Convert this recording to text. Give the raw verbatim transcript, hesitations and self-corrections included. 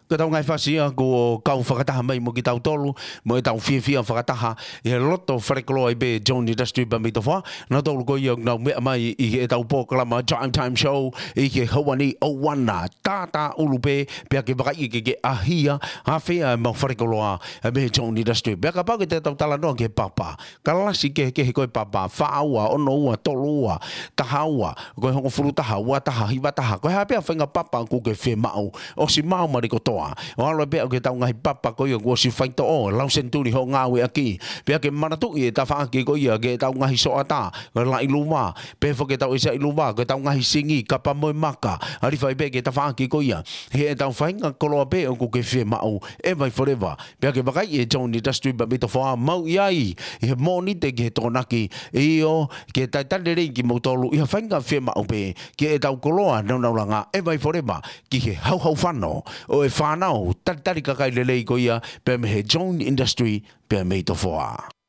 Ko ʻetau ngaahi fasi ia kuo kau fakataha mai mo kitautolu, mo ʻetau fiefia fakataha ʻi he loto falekoloa ʻi pē Zone Industry pea mei Tofoa. Nautolu ko ia ʻoku nau meʻa mai ʻi heʻetau polokalama Drive Time Show ʻi he houa ni ʻo ʻaho ni. Tātā ʻulu pē, pea ke vakaiʻi ke ke ʻaʻahi ʻafea ʻemau falekoloa ʻa pē Zone Industry. Pea kapau ke te tau talanoa ki he papa, kalasi kehekehe ko e papa, fā ua, ono ua, tolu ua, taha ua, ko e hongofulu taha, ua taha, hiva taha, ko e hā pē ha faʻahinga papa ʻoku ke fiemaʻu, ʻosi maʻu mai kotoa. ʻO ʻalu pē ʻo ki heʻetau ngaahi papa ko ia kuo ʻosi faitoʻo, lau senituli hoʻo ngāueʻaki. Pea ke manatuʻi e tafaʻaki ko ia ki heʻetau ngaahi soʻatā, ko e laʻi luva, pe foki ʻetau ʻisaʻi luva, ko ʻetau ngaahi singi, kapa mo e maka, ʻalu hifo ai pē ki he tafaʻaki ko ia. He ʻetau faʻahinga koloa pē ʻoku ke fiemaʻu, ʻe vai forever. Pea ke vakaiʻi e Zone Industry pea mei Tofoa, mau ʻi ai ʻi he Mōnite ki he Tokonaki, ʻio, ke talitali lelei kimoutolu ʻi ha faʻahinga fiemaʻu pē ki heʻetau koloa nāunau langa, ʻe vai forever, ki he hauhau fano ʻo e fānau talitali kakai lelei ko ia pea mei he Zone Industry pea mei Tofoa.